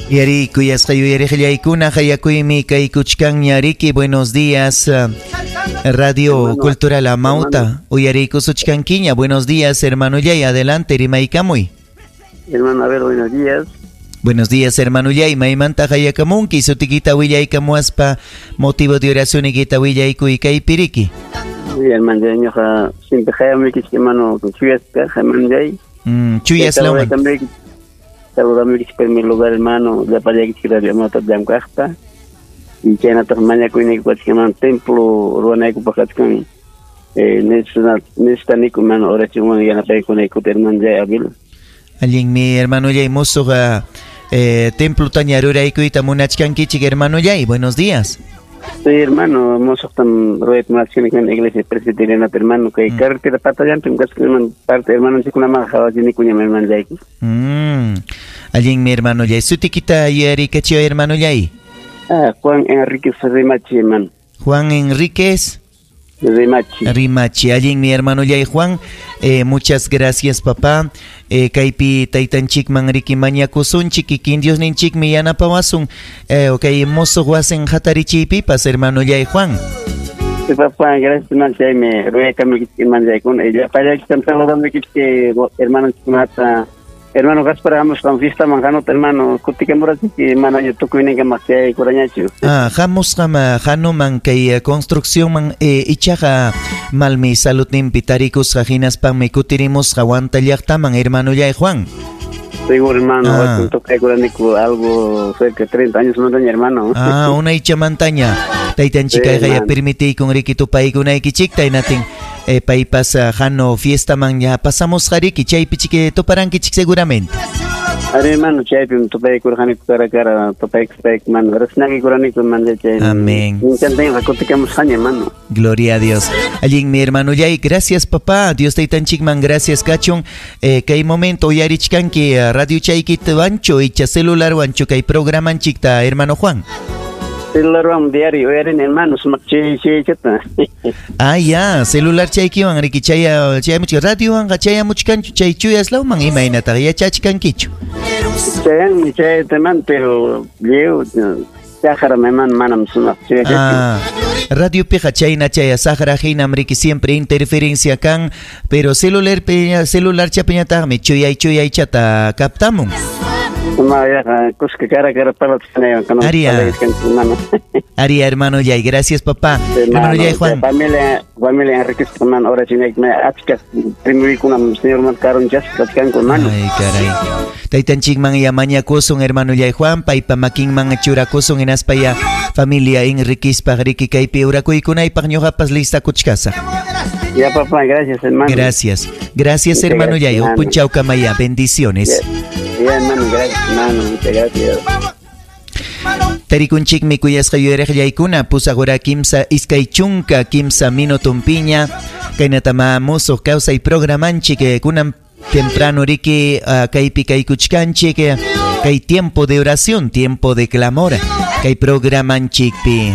Yari kuyasqa yuyariqllaykuna hayakuymi kaykuchkanña riki. Buenos días, Radio Cultural Amauta. Uyariykusuchkankiña. Buenos días, hermanollay. Adelante, rimaykamuy. Hermano, a ver, buenos días. Buenos días, hermanollay. Maymanta hayakamunki, sutikita willaykamuaspa motivo de oración ikita willaykuy kaypi riki. Sí, hermano, ñuqa siempre hayamuykichik, hermano, chuyasqa, hermanollay. Chuyas lawman. Saludamuykichik primer lugar, hermano, llapallaykichik Radio Amauta llamk'aqta. Y chaynataq mañakuyniyku hermano, templo ruwanaykupaq kachkan. Necesitaniku, hermano, oracionwan yanapaykunaykuta, hermano, Abel. Allinmi, hermanollay, musuq templotaña ruraykuyta munachkankichik, hermanollay. Buenos días. Sí, hermano, musuqtam rurayta munachkani iglesia presbiteriana, hermano, kay carretera patallanpim kachkan, hermano, parte hermanonchikkunaman qhawachinikuñam, hermanollay. Allinmi, hermanollay. Sutikita yuyarikachiway, hermanollay. Ah, Juan Enríquez Rimachi, hermano. Juan Enríquez Rimachi. Rimachi. Allinmi, hermanollay Juan. Muchas gracias, papá. Kaypi taytanchikman riki mañakusunchik, kikin Diosninchikmi yanapawasun. Kay musuq wasin hatarichiypipas, hermanollay Juan. Sí, papá, gracias, hermano. Chaymi ruyaykamuykichik, hermanollaykuna. Llapallaykitam saludamuykichik, hermanonchikkunata. Hermano Gaspar, hamusqam fiestaman hanuta, hermano, kutikamurachik, manaña tukuyninkamaq chayaykurañachu. Ah, hamusqam hanuman kay construccionman, ichaqa malmi saludninpi tarikusqa hinaspanmi kutirimusqa Huanta llaqtaman, hermanollay Juan. Seguro, hermano, tocaykuraniku algo cerca de 30 años montaña, hermano. Ah, unaychamantaña. Taytanchik kayqa permitiykun riki tupaykunaykichikta, hinatin paypas hano fiestaman ya pasamusqa riki, chaypi chiki tuparankichik seguramente. Ari, hermano, chaypim tupaykurqaniku cara a cara, tupaykuspayku, hermano, riqsinakuykuraniku, hermano, chay. Amén. Minkantinqa kutikamusqaña, hermano. Gloria a Dios. Allinmi, hermanollay, gracias, papá. Dios taytanchikman gracias kachun. Kay momento uyarichkanki radio chaykitawanchu icha celularwanchu kay programanchikta, hermano Juan. Celularwan diario uyarini, hermano, sumaq chaychata. Ah, ya, celular chaykiwan riki chaya chayamuchkan radiowanqa chayamuchkanchu chay chuyas lawman imaynataq yachachkankichu. Chayanmi chayata, hermano, pero lliw saqram, hermano, manam sumaq chuyachachu. Ah, radiopiqa chayna chaya saqra hinam riki siempre interferencia kan, pero celular celular chapiñataqmi chuyay chuyaychata captamun. Uma yaqa kuska cara a cara parlachkanaywan Aria. Hermano. Aria, hermano Yay, gracias, papá. Hermano Yay Juan. Familia, familia Enriquez, hermano, oracionayki, achka primuykunam Señorman karunchasqa kachkanku, hermano. Ay, caray. Taytanchikman ya mañakusun, hermano Yay Juan, paypa makinman churakusun hinaspa ya familia Enriquezpaq riki kaypi urakuykunaypaq ñuqapas listakuchkasaq. Ya, papá, gracias, hermano. Gracias. Gracias, Muchas hermano gracias, Yay. hermano. Punchawkamaya. Bendiciones. Ya, ya, hermano, gracias, hermano. Muchas gracias. Tarikunchikmi kuyasqa yuyariqllaykuna 8 hora 3 23 minutumpiña kaynatama musuq kawsay programanchik, kunan temprano riki kaypi kaykuchkanchik, kay tiempo de oración, tiempo de clamor kay programanchikpi.